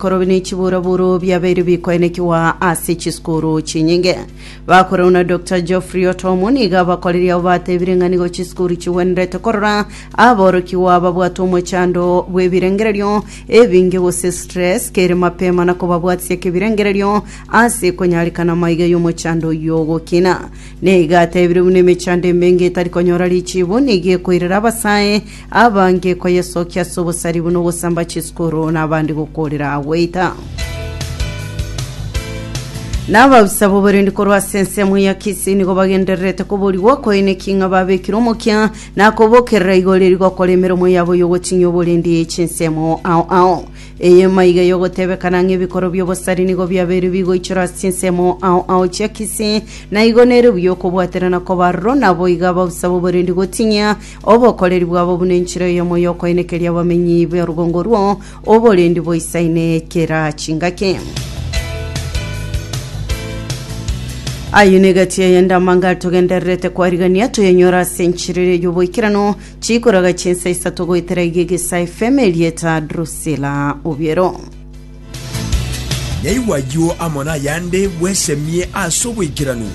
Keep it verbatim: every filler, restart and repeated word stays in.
Korobi ne chiburaburu biabeire bikoenekiwa ase chisukuru chinyinge. Bakoreu na Doctor Geoffrey Otomo nigo abakoreria abo batebire ng'a nigo chisukuru chigwenerete korora aborokigwa babwate omochando bw'ebirengererio ebinge gose stress kere mapema na kobabwatisia kebirengererio ase konyarikana maiga y'omochando oyio ogokina. Nigo atebire buna emechando emenge etari konyora richibu nigo ekoirera abasae abange koyesokia ase obosari buna ogosamba chisukuru na abande gokorera goita. Na ababisa b'oborendi korwa ase ensemo ya Kisii nigo bagendererete koborigwa koeneki ng'a babekire omokia na kobokerera igoro eri gokora emeremo yabo y'ogotinyia oborendi chinsemo ao ao. Eye maiga y'ogotebekana ng'a ebikoro bi'obosari nigo biabeire bigoichora ase chinsemo ao ao chia Kisii na igo nere buya okobwaterana koba aroro naboigo ababisa b'oborendi gotinyia obokoreri bwabo buna enchera eyemo y'okoenekeria abamenyi b'orugongo orwo oborendi boisaine kera chingaki. Ayio negati eyende amanga togendererete kwarigania toyenyora ase enchera ere y'oboikeranu chikoraga chinsa isato goetera iga Egesa F M erieta Drusilla Obiero. Yaigwa ayio amo nayande bwesemie ase oboikeranu.